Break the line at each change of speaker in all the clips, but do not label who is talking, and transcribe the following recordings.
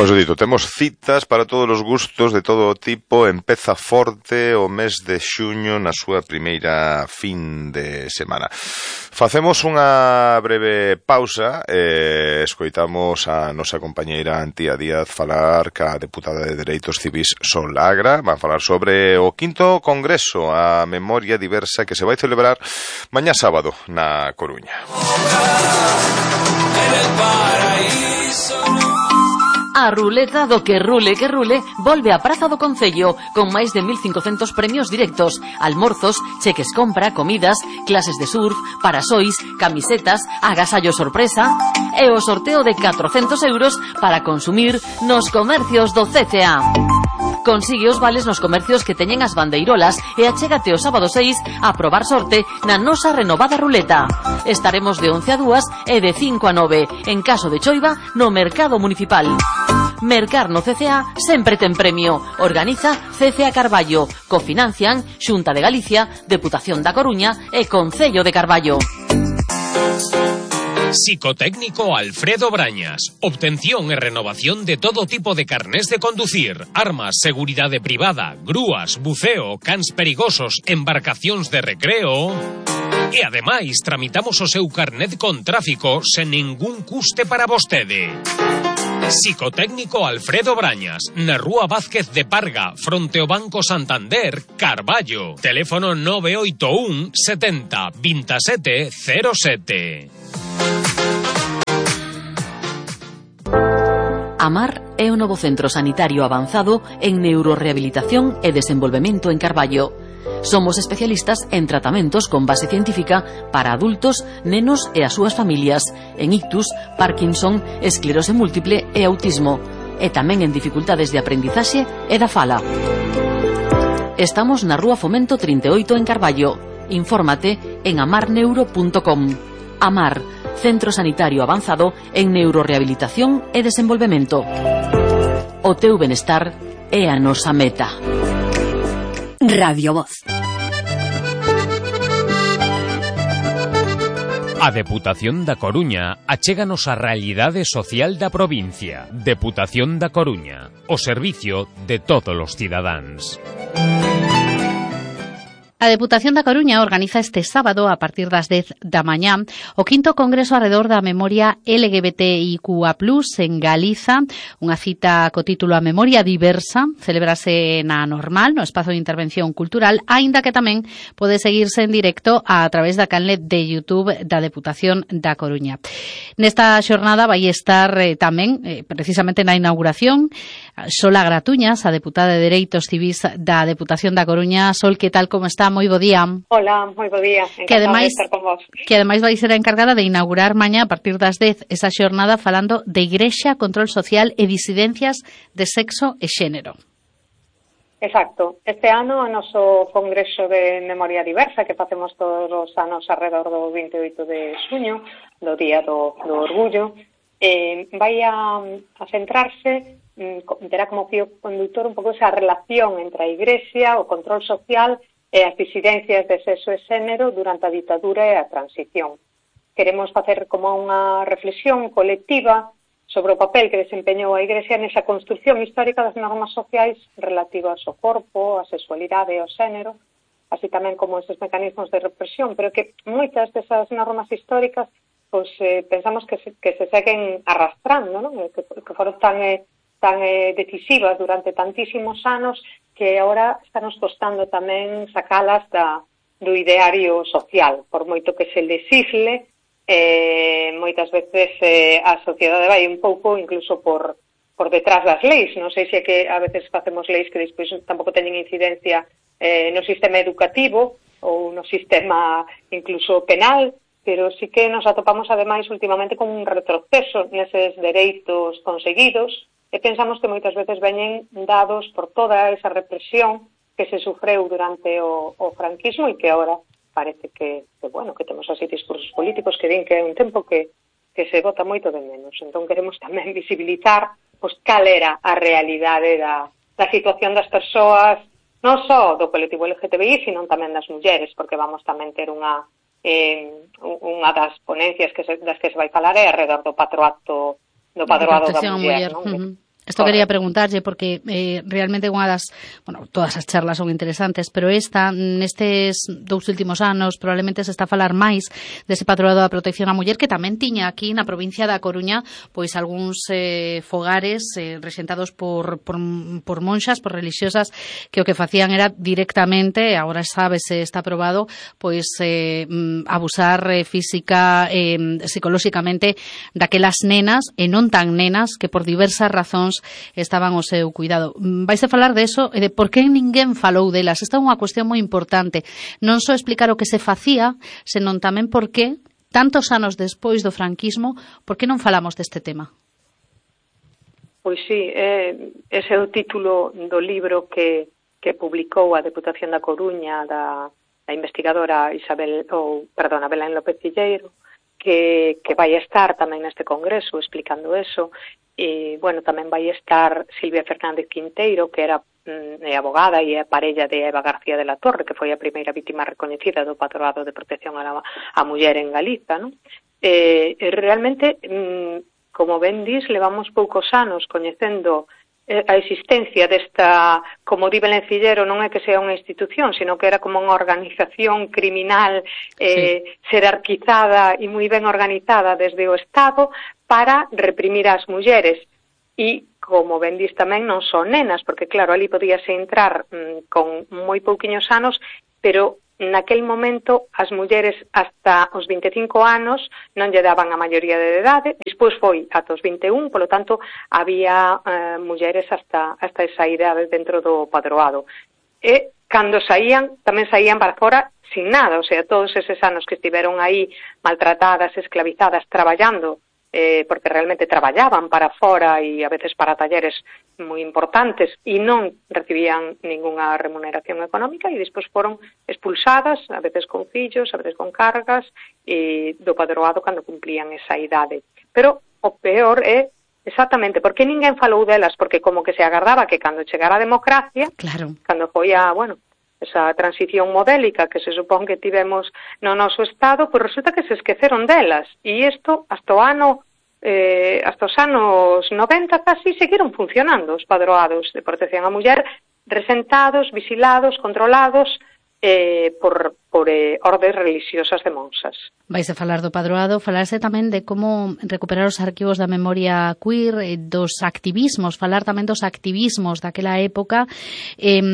Pois dito, temos citas para todos os gustos de todo tipo. Empeza forte o mes de xuño na súa primeira fin de semana. Facemos unha breve pausa e escoitamos a nosa compañeira Antía Díaz falar ca deputada de Dereitos Civís Sol Agra. Van falar sobre o 5º Congreso a Memoria Diversa que se vai celebrar mañá sábado na Coruña.
A ruleta do que rule volve á Praza do Concello con máis de 1.500 premios directos, almorzos, cheques compra, comidas, clases de surf, parasois, camisetas, agasallo sorpresa e o sorteo de 400 euros para consumir nos comercios do CCA. Consigue os vales nos comercios que teñen as bandeirolas e achégate o sábado 6 a probar sorte na nosa renovada ruleta. Estaremos de 11 a 2 e de 5 a 9, en caso de choiva, no Mercado Municipal. Mercar no CCA sempre ten premio. Organiza CCA Carballo. Cofinancian Xunta de Galicia, Deputación da Coruña e Concello de Carballo.
Psicotécnico Alfredo Brañas. Obtención e renovación de todo tipo de carnés de conducir, armas, seguridade privada, grúas, buceo, cans perigosos, embarcacións de recreo. E ademais tramitamos o seu carnet con tráfico sen ningún custe para vostede. Psicotécnico Alfredo Brañas, na Rúa Vázquez de Parga, fronte ao Banco Santander, Carballo. Teléfono 981 70 27 07.
AMAR é o novo centro sanitario avanzado en neurorehabilitación e desenvolvemento en Carballo. Somos especialistas en tratamentos con base científica para adultos, nenos e as súas familias, en ictus, Parkinson, esclerose múltiple e autismo, e tamén en dificultades de aprendizaxe e da fala. Estamos na Rúa Fomento 38 en Carballo. Infórmate en amarneuro.com. AMAR, Centro Sanitario Avanzado en Neurorehabilitación e Desenvolvemento. O teu benestar é a nosa meta.
Radio Voz.
A Deputación da Coruña achéganos a realidade social da provincia. Deputación da Coruña, o servicio de todos os cidadáns.
A Deputación da Coruña organiza este sábado, a partir das 10 da mañá, o 5º Congreso arredor da memoria LGBTIQA+, en Galiza, unha cita co título A Memoria Diversa, celebrase na Normal, no espazo de intervención cultural, aínda que tamén pode seguirse en directo a través da canle de YouTube da Deputación da Coruña. Nesta xornada vai estar tamén, precisamente na inauguración, Sol Agra Tuñas, a deputada de Dereitos Civís da Deputación da Coruña. Sol, que tal, como está? Moi bo día.
Hola, moi bo día. Encantada de estar con vos.
Que ademais vai ser a encargada de inaugurar mañá a partir das 10 esa xornada falando de Igrexa, control social e disidencias de sexo e xénero.
Exacto. Este ano o noso Congreso de Memoria Diversa que facemos todos os anos alrededor do 28 de xuño, do Día do Orgullo, vai a centrarse, terá como fío conductor un pouco esa relación entre a Igrexa, o control social e as disidencias de sexo e xénero durante a ditadura e a transición. Queremos facer como unha reflexión colectiva sobre o papel que desempeñou a Igrexa nesa construción histórica das normas sociais relativas ao corpo, a sexualidade e ao xénero, así tamén como esos mecanismos de represión, pero que moitas desas normas históricas pues, pensamos que se seguen arrastrando, ¿no? que foron tan decisivas durante tantísimos anos que agora nos costando tamén sacalas do ideario social, por moito que se lesisle, moitas veces a sociedade vai un pouco incluso por detrás das leis. Non sei se é que a veces facemos leis que despois tampouco teñen incidencia no sistema educativo ou no sistema incluso penal, pero sí que nos atopamos ademais últimamente con un retroceso neses dereitos conseguidos, e pensamos que moitas veces veñen dados por toda esa represión que se sufreu durante o franquismo e que agora parece que temos así discursos políticos que din que é un tempo que se vota moito de menos. Entón queremos tamén visibilizar cal era a realidade da situación das persoas, non só do colectivo LGTBI, sino tamén das mulleres, porque vamos tamén ter unha das ponencias das que se vai falar é alrededor do patroado da muller, non?
Isto quería preguntarlle porque realmente unha das, todas as charlas son interesantes, pero nestes 2 últimos anos probablemente se está a falar máis dese patroado da protección á muller, que tamén tiña aquí na provincia da Coruña pois algúns fogares rexentados por monxas, por religiosas, que o que facían era directamente, agora sábese, está aprobado, pois abusar física, psicolóxicamente daquelas nenas e non tan nenas que por diversas razóns estaban ao seu cuidado. Vais a falar de eso e de por que ninguén falou delas. Esta é unha cuestión moi importante. Non só explicar o que se facía, senón tamén por que, tantos anos despois do franquismo, por que non falamos deste tema?
Pois sí, ese é o título do libro que publicou a Deputación da Coruña da investigadora Belén López Cilleiro, que vai estar tamén neste congreso explicando eso. E, tamén vai estar Silvia Fernández Quinteiro, que era abogada e é parella de Eva García de la Torre, que foi a primeira vítima recoñecida do patroado de protección á muller en Galiza, non? Realmente, como ben dis, levamos poucos anos coñecendo a existencia desta, como di Belén Cilleiro, non é que sea unha institución, sino que era como unha organización criminal jerarquizada e moi ben organizada desde o Estado para reprimir as mulleres. E, como ben dis tamén, non son nenas, porque claro, ali podíase entrar con moi pouquiños anos, pero naquel momento as mulleres hasta os 25 anos non lle daban a maioría de idade, despois foi ata os 21, polo tanto había mulleres hasta esa idade dentro do padroado. E cando saían, tamén saían para fora sin nada, o sea, todos eses anos que estiveron aí maltratadas, esclavizadas, traballando, porque realmente traballaban para fora e a veces para talleres moi importantes e non recibían ningunha remuneración económica e despois foron expulsadas, a veces con fillos, a veces con cargas, do padroado cando cumplían esa idade. Pero o peor é exactamente porque ninguén falou delas, porque como que se agardaba que cando chegara a democracia, cando foi esa transición modélica que se supón que tivemos no noso Estado, pois resulta que se esqueceron delas. E isto, hasta os anos 90 casi, seguiron funcionando os padroados de protección á muller, resentados, vigilados, controlados por ordes religiosas de monxas.
Vais a falar do padroado, falarse tamén de como recuperar os arquivos da memoria queer, dos activismos, falar tamén dos activismos daquela época, e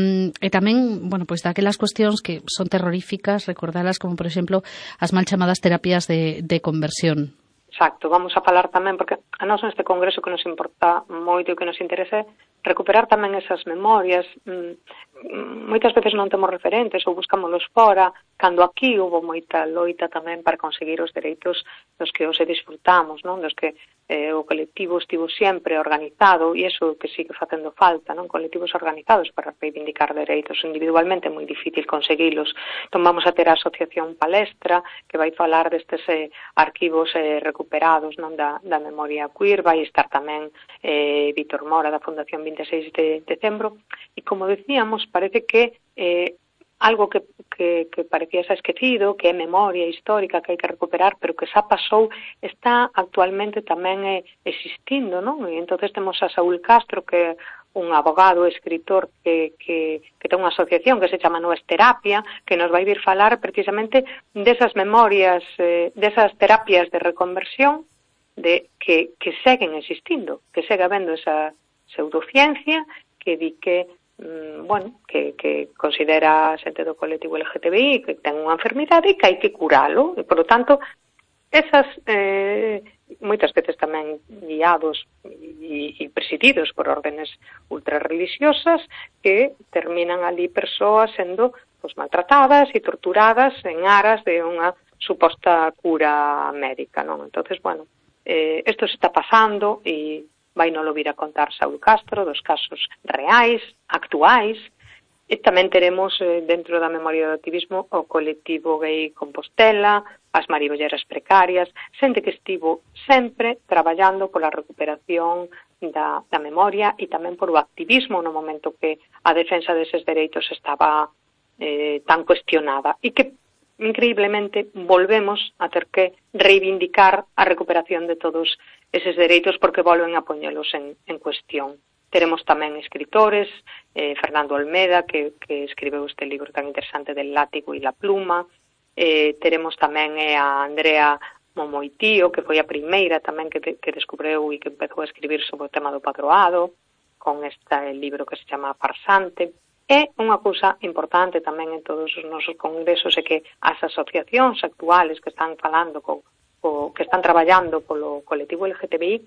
tamén, daquelas cuestións que son terroríficas, recordalas como, por exemplo, as mal chamadas terapias de conversión.
Exacto, vamos a falar tamén, porque a nós neste congreso que nos importa moito e que nos interesa recuperar tamén esas memorias. Moitas veces non temos referentes ou buscámolos fora, cando aquí houve moita loita tamén para conseguir os dereitos dos que hoxe disfrutamos, non? Dos que o colectivo estivo sempre organizado, e iso que sigue facendo falta, non? Colectivos organizados para reivindicar dereitos. Individualmente é moi difícil conseguilos. Entón vamos a ter a Asociación Palestra, que vai falar destes arquivos recuperados, non, da memoria queer. Vai estar tamén Víctor Mora, da Fundación 26 de Decembro, e como decíamos, parece que algo que parecía xa esquecido, que é memoria histórica que hai que recuperar, pero que xa pasou, está actualmente tamén existindo, non? E entonces temos a Saúl Castro, que é un abogado, escritor, que ten unha asociación que se chama Nues Terapia, que nos vai vir falar precisamente desas memorias, desas terapias de reconversión que seguen existindo, que segue habendo esa pseudociencia que di que que considera a xente do colectivo LGTBI que ten unha enfermidade e que hai que curalo, e, por lo tanto, esas, moitas veces tamén guiados e presididos por órdenes ultrarreligiosas, que terminan ali persoas sendo maltratadas e torturadas en aras de unha suposta cura médica, non? Entonces, isto se está pasando e vai non lo vir a contar Saúl Castro, dos casos reais, actuais, e tamén teremos dentro da memoria do activismo o colectivo gay Compostela, as maribolleras precarias, xente que estivo sempre traballando pola recuperación da memoria e tamén por o activismo no momento que a defensa deses dereitos estaba tan cuestionada e que increíblemente volvemos a ter que reivindicar a recuperación de todos eses dereitos porque volven a poñelos en cuestión. Teremos tamén escritores, Fernando Olmeda, que escribeu este libro tan interesante del látigo e la pluma. Teremos tamén a Andrea Momoitío, que foi a primeira tamén que descubreu e que empezou a escribir sobre o tema do padroado, con este libro que se chama Farsante. E unha cousa importante tamén en todos os nosos congresos é que as asociacións actuales que están falando que están traballando polo colectivo LGTBI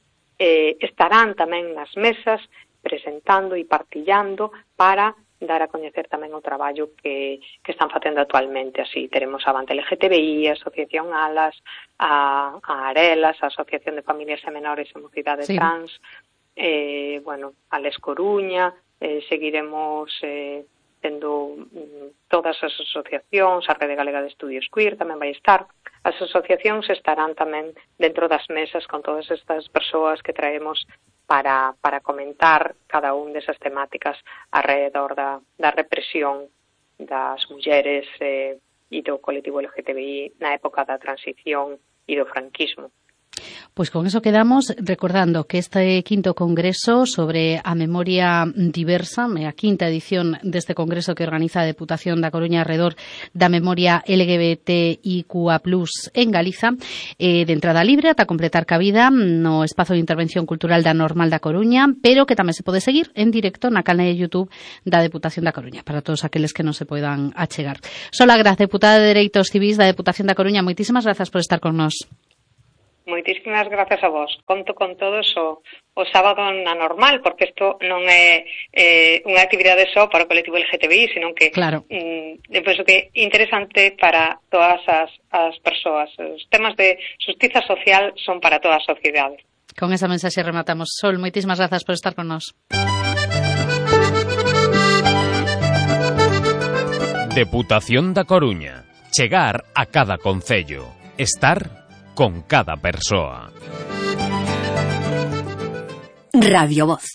estarán tamén nas mesas presentando e partillando para dar a coñecer tamén o traballo que están facendo actualmente. Así teremos a Avante LGTBI, a Asociación Alas, a Arelas, a Asociación de Familias e Menores e Mocidade Trans, a Les Coruña, seguiremos tendo todas as asociacións, a Rede Galega de Estudios Queer tamén vai estar. As asociacións estarán tamén dentro das mesas con todas estas persoas que traemos para comentar cada un desas temáticas alrededor da represión das mulleres e do colectivo LGTBI na época da transición e do franquismo.
Pues con eso quedamos, recordando que este quinto congreso sobre a memoria diversa, a quinta edición deste congreso que organiza a Deputación da Coruña alrededor da memoria LGBTIQA+ en Galiza, de entrada libre ata completar cabida no espazo de intervención cultural da Normal da Coruña, pero que tamén se pode seguir en directo na canal de YouTube da Deputación da Coruña, para todos aqueles que non se poidan achegar. Sola Graz, deputada de Dereitos Civís da Deputación da Coruña, moitísimas grazas por estar con nós.
Moitísimas grazas a vos. Conto con todos o sábado na Normal, porque isto non é unha actividade só para o colectivo LGTBI, senón que eu penso que é interesante para todas as persoas. Os temas de xustiza social son para toda a sociedade.
Con esa mensaxe rematamos. Sol, moitísimas grazas por estar con nós.
Deputación da Coruña. Chegar a cada concello. Estar con cada persoa.
Radio Voz.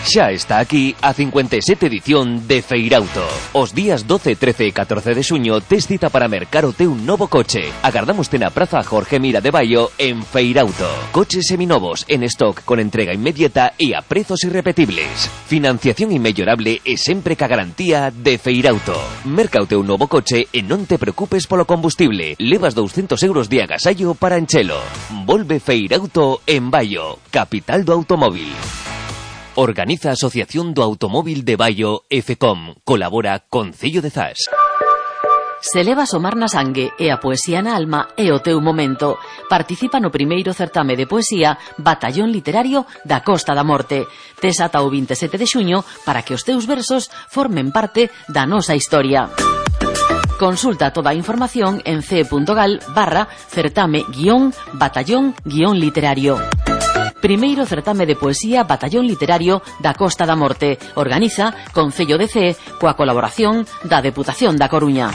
Xa está aquí a 57 edición de Feirauto. Os días 12, 13 e 14 de xuño tes cita para mercar o teu novo coche. Agardámoste na Praza Jorge Mira de Baio en Feirauto. Coches seminovos en stock con entrega inmediata e a prezos irrepetibles. Financiación inmellorable e sempre ca garantía de Feirauto. Merca o teu novo coche e non te preocupes polo combustible. Levas 200 euros de agasallo para enchelo. Volve Feirauto en Baio, capital do automóvil. Organiza a Asociación do Automóvil de Baio e FECOM. Colabora Concello de Zas.
Se levas o mar na sangue e a poesía na alma é o teu momento. Participa no primeiro certame de poesía Batallón Literario da Costa da Morte. Tes ata o 27 de xuño para que os teus versos formen parte da nosa historia. Consulta toda a información en ce.gal/certame-batallón-literario. Primeiro certame de poesía Batallón Literario da Costa da Morte. Organiza Concello de Cee coa colaboración da Deputación da Coruña.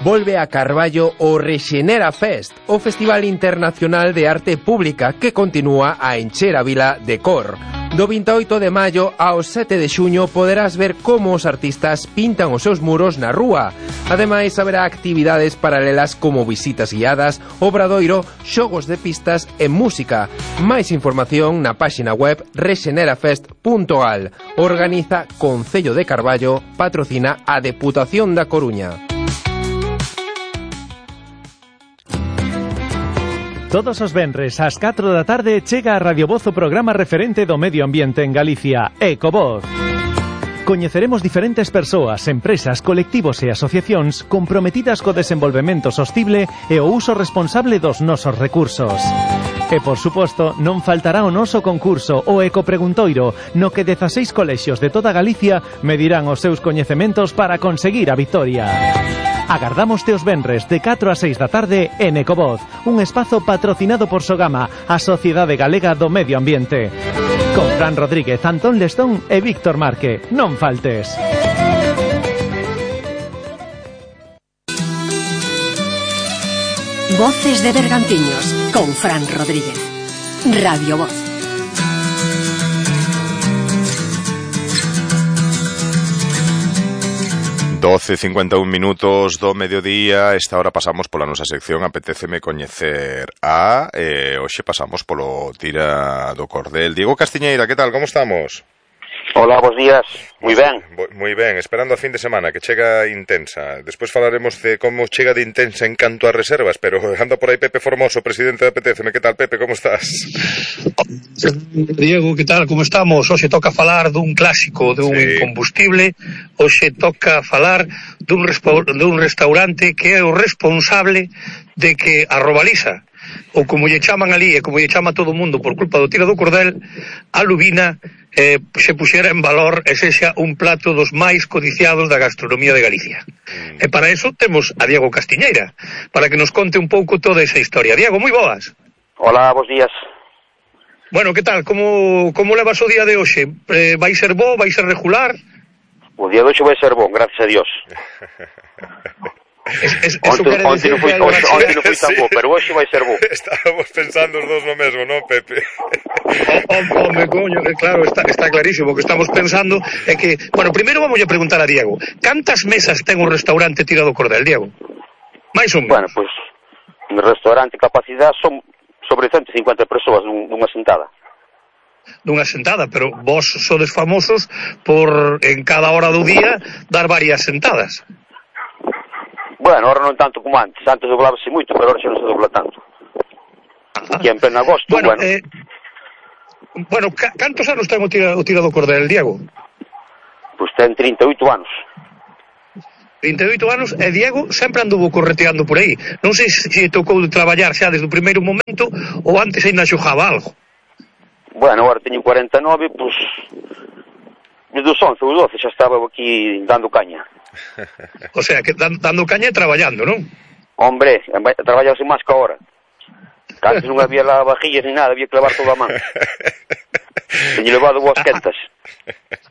Volve a Carballo o Rexenera Fest, o Festival Internacional de Arte Pública que continúa a encher a vila de cor. Do 28 de maio ao 7 de xuño poderás ver como os artistas pintan os seus muros na rúa. Ademais, haberá actividades paralelas como visitas guiadas, obradoiro, xogos de pistas e música. Máis información na páxina web rexenerafest.gal. Organiza Concello de Carballo, patrocina a Deputación da Coruña.
Todos os venres ás 4 da tarde chega a Radio Voz o programa referente do medio ambiente en Galicia, Ecovoz. Coñeceremos diferentes persoas, empresas, colectivos e asociacións comprometidas co desenvolvemento sostible e o uso responsable dos nosos recursos. E, por suposto, non faltará o noso concurso, o Ecopreguntoiro, no que 16 colexios de toda Galicia medirán os seus coñecementos para conseguir a vitoria. Agardámoste os venres de 4 a 6 da tarde en Ecovoz, un espazo patrocinado por Sogama, a Sociedade Galega do Medio Ambiente. Con Fran Rodríguez, Antón Lestón e Víctor Marque. Non faltes.
Voces de Bergantiños, con Fran Rodríguez. Radio Voz.
12:51 minutos do mediodía. Esta hora pasamos pola nosa sección Apetéceme coñecer a hoxe pasamos polo Tira do Cordel. Diego Castiñeira, que tal, como estamos?
Hola, bons días, moi ben.
Moi ben, esperando a fin de semana que chega intensa. Despois falaremos de como chega de intensa en canto a reservas, pero anda por aí Pepe Formoso, presidente de Apetéceme. Que tal, Pepe, como estás?
Diego, que tal, como estamos? Hoxe toca falar dun clásico, dun combustible. Hoxe toca falar dun restaurante que é o responsable de que a Robaliza, ou como lle chaman ali e como lle chama todo o mundo por culpa do Tira do Cordel, a Lubina, se puxera en valor e sexa un plato dos máis codiciados da gastronomía de Galicia. E para eso temos a Diego Castiñeira, para que nos conte un pouco toda esa historia. Diego, moi boas.
Hola, bons días.
Bueno, que tal? Como levas o día de hoxe? Vai ser bo? Vai ser regular?
O día de hoxe vai ser bon, gracias a Dios. Onte non foi tan bo, pero hoxe vai ser bo.
Estábamos pensando os dous no mesmo, non, Pepe?
Home, coño, claro, está clarísimo. O que estamos pensando é que... Bueno, primeiro vamos a preguntar a Diego. Cantas mesas ten un restaurante Tira do Cordel, Diego? Mais ou menos?
Bueno, pois, no restaurante capacidade son sobre 150 persoas nunha sentada.
Nunha sentada, pero vos sodes famosos por, en cada hora do día, dar varias sentadas.
Bueno, ahora non tanto como antes. Antes doblábase moito, pero ahora xa non se dobla tanto. Aquí en pleno agosto, bueno.
Bueno, cantos anos ten o Tira do Cordel, Diego?
Pois ten 38 anos.
38 anos, e Diego sempre anduvo correteando por aí. Non sei se tocou de traballar xa desde o primeiro momento ou antes ainda xogaba algo.
Bueno, agora teño 49, pois desde os 11 ou 12 xa estaba aquí dando caña.
O sea, que dando caña e traballando, non?
Hombre, traballase máis que ahora. Antes non había lavavajillas ni nada, había que lavar toda a man. Teño levado boas quentas.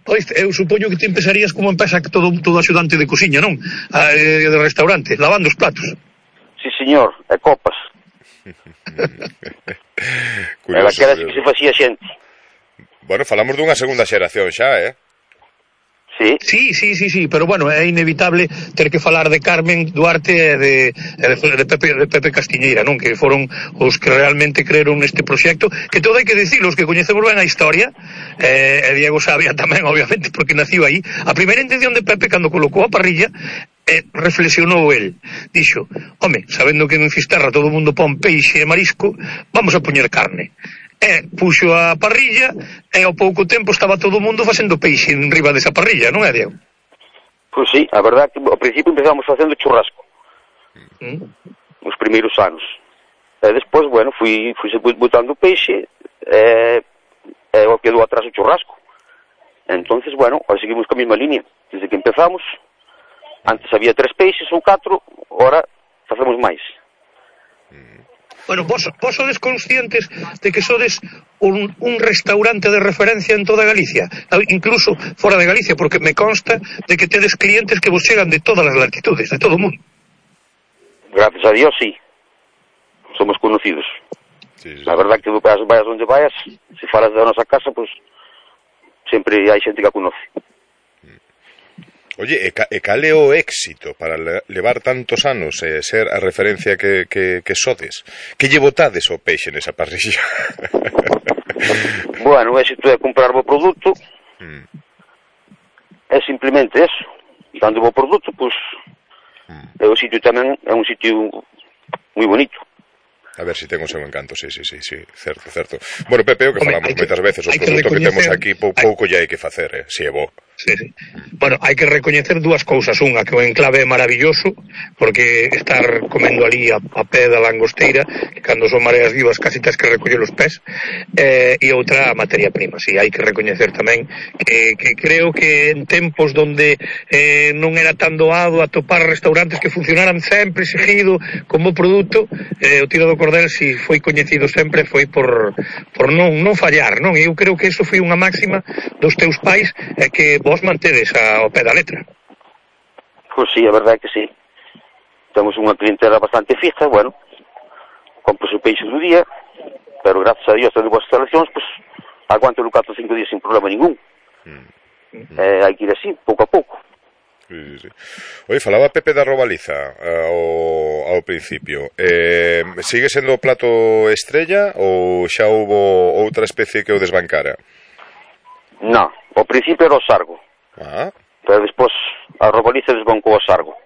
Pois, eu supoño que te empezarías como empeza todo axudante de cociña, non? De restaurante, lavando os platos.
Sí, señor, e copas. E daquelas que se facía xente.
Bueno, falamos dunha segunda xeración xa,
Sí, pero bueno, é inevitable ter que falar de Carmen Duarte e de Pepe Castiñeira, non? Que foron os que realmente creeron neste proxecto, que todo hai que dicilo, os que coñecemos ben a historia, e Diego sabía tamén, obviamente, porque naciu aí. A primeira intención de Pepe, cando colocou a parrilla, reflexionou el, dixo: home, sabendo que en Fisterra todo o mundo pon peixe e marisco, vamos a poñer carne. E puxo a parrilla e ao pouco tempo estaba todo o mundo facendo peixe en riba desa parrilla, non é, Diego?
Pois sí, a verdade que ao principio empezamos facendo churrasco os primeiros anos, e despois, bueno, fui botando peixe e quedou atrás o churrasco. Entonces, bueno, aí seguimos con a mesma línea desde que empezamos. Antes había 3 peixes ou 4, ahora facemos máis.
Bueno, vos sodes conscientes de que sodes un restaurante de referencia en toda Galicia, incluso fora de Galicia, porque me consta de que tedes clientes que vos chegan de todas as latitudes, de todo o mundo.
Gracias a Dios, sí. Somos conocidos. Sí. A verdad que vayas onde vayas, se falas da nosa casa, pues sempre hai xente que a conoce.
Oye, e cal é o éxito para levar tantos anos e ser a referencia que sodes? Que lle botades o peixe nesa parrilla?
Bueno, o éxito é comprar bo produto. É simplemente eso. Dando bo produto, pois o sitio tamén é un sitio moi bonito.
A ver se ten o seu encanto, sí, certo. Bueno, Pepe, o que falamos moitas veces, o produto que temos aquí pouco lle hai que facer, si é bo.
Sí. Bueno, hai que recoñecer dúas cousas. Unha, que o enclave é maravilloso, porque estar comendo ali a pé da langosteira, que cando son mareas vivas casi tens que recoller os pés, e outra, a materia prima. Sí, hai que recoñecer tamén que creo que en tempos donde non era tan doado atopar restaurantes que funcionaran sempre seguido como produto, o Tira do Cordel, si foi coñecido sempre, foi por non fallar, non? Eu creo que eso foi unha máxima dos teus pais, que vos mantedes ao pé da letra.
Pois sí, a verdade é que sí. Temos unha clientela bastante fija, bueno, compro o peixe do día, pero gracias a Dios tendo boas instalacións, pues aguanto o 4 ou 5 días sin problema ningún. Hai que ir así, pouco a pouco.
Sí. Oye, falaba Pepe da Robaliza ao principio. Sigue sendo o plato estrella ou xa houbo outra especie que o desbancara?
Non, ao principio era o sargo. Pero despois a Robaliza desbancou o sargo.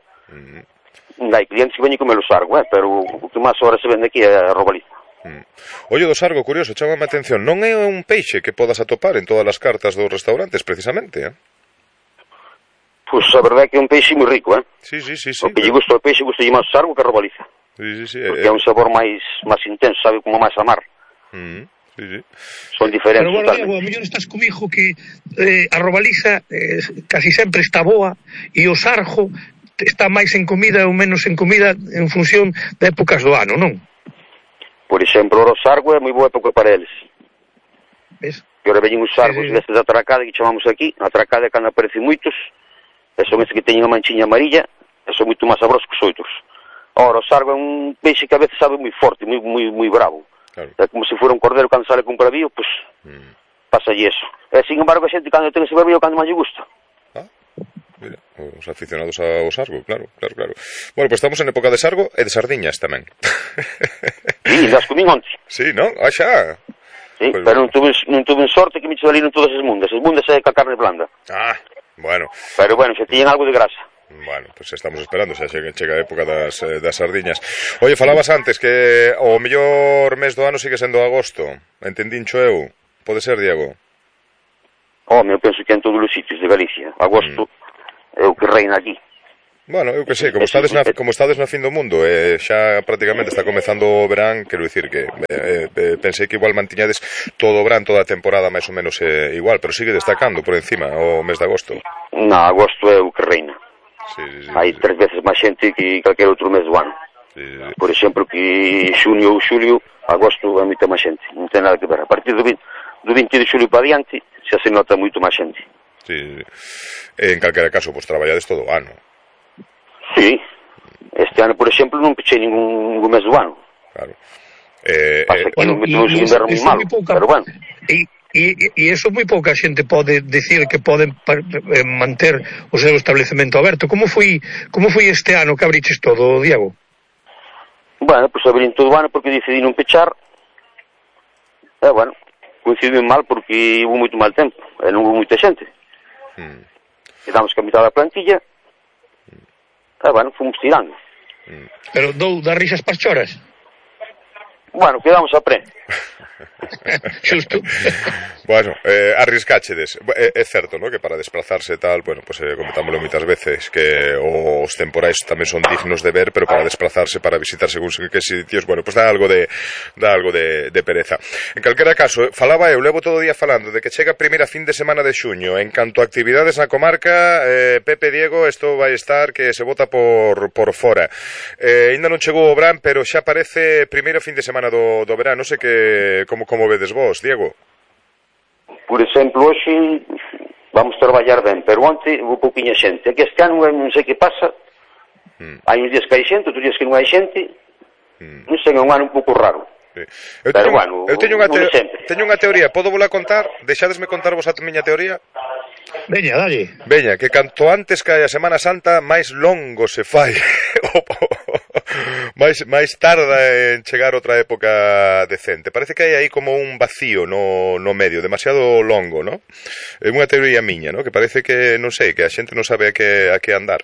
Hai clientes que veñen comer o sargo, pero o que máis ahora se vende aquí é a Robaliza.
Ollo do sargo, curioso, chámame a atención. Non é un peixe que podas atopar en todas as cartas dos restaurantes, precisamente,
Pois a verdade é que é un peixe moi rico,
Sí.
O que lle gusta o peixe gusta máis o sargo que a Robaliza.
Sí.
Porque é un sabor máis intenso, sabe, como máis a mar.
Sí.
Son diferentes.
Pero, bueno, Diego, a mellor estás comigo que a Robaliza casi sempre está boa e o sargo está máis en comida ou menos en comida en función de épocas do ano, non?
Por exemplo, o sargo é moi boa época para eles.
Ves?
E ora veñen os sargos destes da atracada que chamamos aquí. A atracada é cando aparecen moitos, e son estes que teñen a manchiña amarilla, e son moito máis sabrosos que os outros. Ora, o sargo é un peixe que a veces sabe moi forte, moi bravo. Claro. É como se fora un cordero cando sale con bravío, pois pasa eso. E, sin embargo, a xente cando ten ese bravío cando máis lle gusta.
Mira, os aficionados ao sargo, claro. Bueno, pues estamos en época de sargo e de sardiñas tamén.
Sí, las comín onte.
Sí, non? Xa.
Sí, pues, pero non tuve sorte que me salieron todas as mundas. As mundas é ca carne blanda.
Bueno.
Pero bueno, xa tiñen algo de grasa.
Bueno, pues estamos esperando, xa chega a época das sardiñas. Oye, falabas antes que o mellor mes do ano sigue sendo agosto. Entendincho eu. Pode ser, Diego?
Eu penso que en todos os sitios de Galicia. Agosto é o que reina aquí.
Bueno, eu que sei, como estades na fin do mundo, xa prácticamente está comezando o verán, quero dicir que pensei que igual mantiñades todo o verán, toda a temporada máis ou menos igual, pero sigue destacando por encima o mes de agosto.
Non, agosto é o que reina.
Sí,
hai 3 veces máis xente que calquer outro mes do ano. Por exemplo, que xunio ou xulio, agosto é moita máis xente, non ten nada que ver. A partir do 20 de xulio para diante xa se nota moito máis xente.
Sí. En calquera caso, pois traballades todo o ano.
Sí. Este ano, por exemplo, non pechei ningún mes do ano.
Claro.
Pasa que non metemos un inverno moi malo, pero bueno.
E iso moi pouca xente pode decir que poden manter o seu establecemento aberto. Como foi este ano que abriches todo, Diego?
Bueno, pois abrín todo o ano porque decidí non pechar. Bueno, coincidiu mal porque hubo moito mal tempo e non hubo moita xente. Quedamos que a mitad da plantilla. Bueno, fomos tirando.
Pero dá risas para choras?
Bueno, quedamos a pre.
Xusto.
Bueno, arriscáchedes. É certo, ¿no?, que para desplazarse tal, bueno, pues comentámoslo moitas veces, que os temporais tamén son dignos de ver, pero para desplazarse, para visitar según que sitios, bueno, pues dá algo de pereza. En calquera caso, falaba eu, levo todo o día falando de que chega a primeira fin de semana de xuño. En canto a actividades na comarca, Pepe, Diego, isto vai estar que se bota por fora. Ainda non chegou o verán, pero xa parece primeiro fin de semana do verán. Non sei que como vedes vos, Diego?
Por exemplo, hoxe vamos traballar ben, pero onte houve pouquinha xente. É que este ano non sei que pasa. Hai uns días que hai xente, outros días que non hai xente. Non sei, é un ano un pouco raro.
Sí. Eu teño unha teoría, podo volar a contar? Deixadesme contar vos a miña teoría?
Veña, dalle.
Veña, que canto antes cae a Semana Santa, máis longo se fai. máis tarda en chegar outra época decente. Parece que hai aí como un vacío no medio, demasiado longo, ¿no? É unha teoría miña, ¿no? Que parece que, non sei, que a xente non sabe a que andar.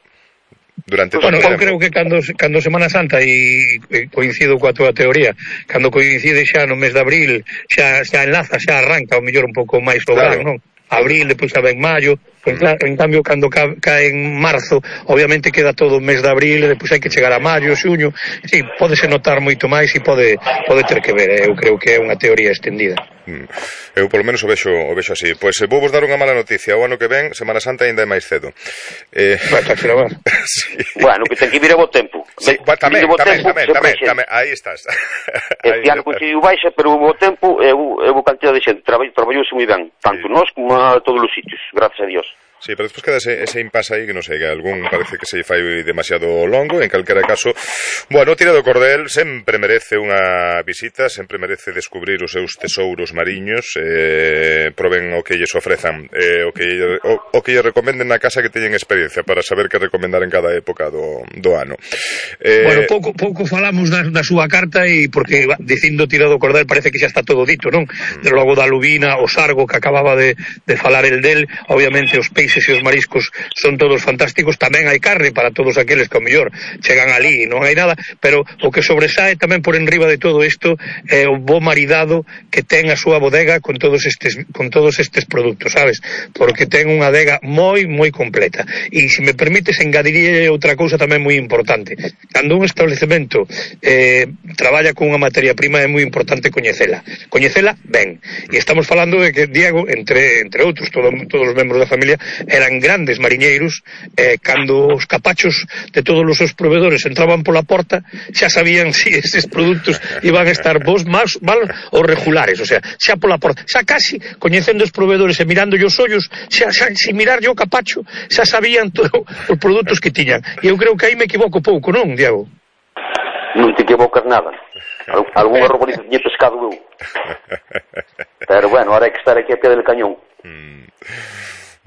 Durante todo
eu creo que cando Semana Santa, e coincido coa túa teoría, cando coincide xa no mes de abril, xa enlaza, xa arranca o mellor un pouco máis o verán, non? Abril, depois xa ven maio. En cambio, cando cae en marzo, obviamente queda todo o mes de abril, e depois hai que chegar a maio, xuño. Sí, pódese notar moito máis e pode ter que ver. Eu creo que é unha teoría extendida.
Eu polo menos o vexo así. Pois vou vos dar unha mala noticia. O ano que ven, Semana Santa ainda é máis cedo.
Sí. Bueno, que ten que vir a bo tempo.
Sí, tamén. Aí estás.
Este ano coincidiu baixa, pero o bo tempo e o cantidad de xente traballouse moi ben, tanto nós como a todos os sitios, gracias a Dios.
Sí, pero despois queda ese impasse aí que non sei, que algún parece que se fai demasiado longo. En calquera caso, bueno, Tira do Cordel sempre merece unha visita, sempre merece descubrir os seus tesouros mariños, proben o que lles ofrezan, o que lles recomenden na casa, que teñen experiencia para saber que recomendar en cada época do ano.
Bueno, pouco falamos da súa carta, e porque dicindo Tira do Cordel parece que xa está todo dito, non? De logo da lubina, o sargo que acababa de falar el del, obviamente os peixes e os mariscos son todos fantásticos, tamén hai carne para todos aqueles que ao mellor chegan ali e non hai nada, pero o que sobresae tamén por enriba de todo isto é o bo maridado que ten a súa bodega con todos estes produtos, sabes? Porque ten unha adega moi completa. E se me permites, engadiría outra cousa tamén moi importante. Cando un establecemento traballa con unha materia prima, é moi importante coñecela ben, e estamos falando de que Diego, entre outros, todos os membros da familia eran grandes mariñeiros. Cando os capachos de todos os seus proveedores entraban pola porta, xa sabían si eses produtos iban a estar bons, mal ou regulares, o sea, xa pola porta, xa casi coñecendo os proveedores e mirando os ollos, xa sin mirar yo o capacho, xa sabían todos os produtos que tiñan. E eu creo que aí me equivoco pouco, non, Diego?
Non te equivocas nada. Algún erro bonito tiñe pescado eu. Pero bueno, ahora hai que estar aquí a pé del cañón.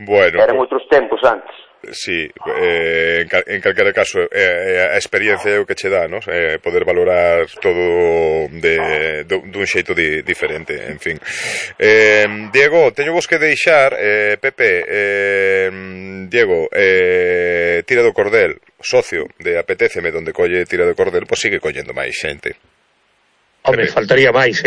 Bueno,
eran outros tempos antes.
Sí, en calquera caso a experiencia é o que che dá, ¿no? Poder valorar todo dun xeito diferente, en fin. Diego, teño vos que deixar, Pepe, Diego, Tira do Cordel, socio de Apetéceme, donde colle Tira do Cordel, pois sigue collendo máis xente.
Home, faltaría máis.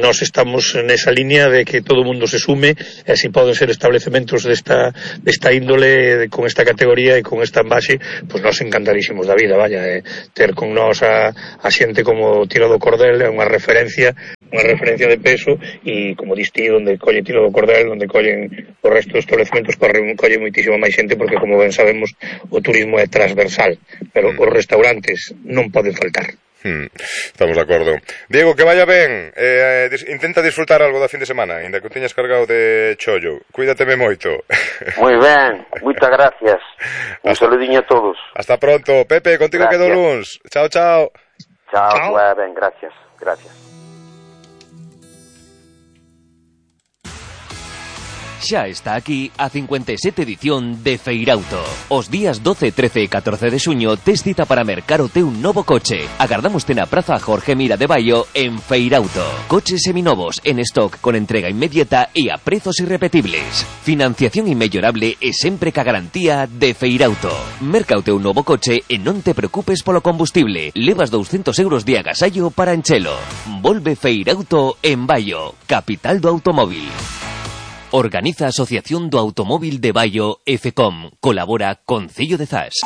Nós estamos nesa línea de que todo o mundo se sume, e así poden ser establecementos desta índole, de, con esta categoría e con esta envase, pois nós encantarísimos da vida, vaya, ter con nós a xente como Tira do Cordel é unha referencia de peso, e como diste, onde colle Tira do Cordel, onde collen o resto dos establecementos, colle moitísima máis xente, porque como ben sabemos o turismo é transversal, pero os restaurantes non poden faltar.
Estamos de acordo. Diego, que vaya ben. Intenta disfrutar algo da fin de semana, ainda que o teñas cargado de chollo. Cuídateme moito.
Moi ben, moitas gracias. Un saludiño a todos.
Hasta pronto. Pepe, contigo quedo luns. Chao.
Chao, ben, gracias.
Xa está aquí a 57 edición de Feirauto. Os días 12, 13 e 14 de xuño tes cita para mercar o teu novo coche. Agardámoste na Praza Jorge Mira de Baio en Feirauto. Coches seminovos en stock con entrega inmediata e a prezos irrepetibles. Financiación inmellorable e sempre ca garantía de Feirauto. Merca o teu novo coche e non te preocupes polo combustible. Levas 200 euros de agasallo para enchelo. Volve Feirauto en Baio, capital do automóvil. Organiza a Asociación do Automóvil de Baio FECOM. Colabora Concello de Zas.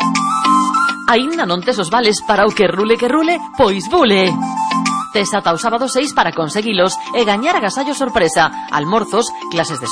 Aínda non tes os vales para o que rule? Pois bule! Tes ata o sábado 6 para conseguilos e gañar agasallo sorpresa, almorzos, clases de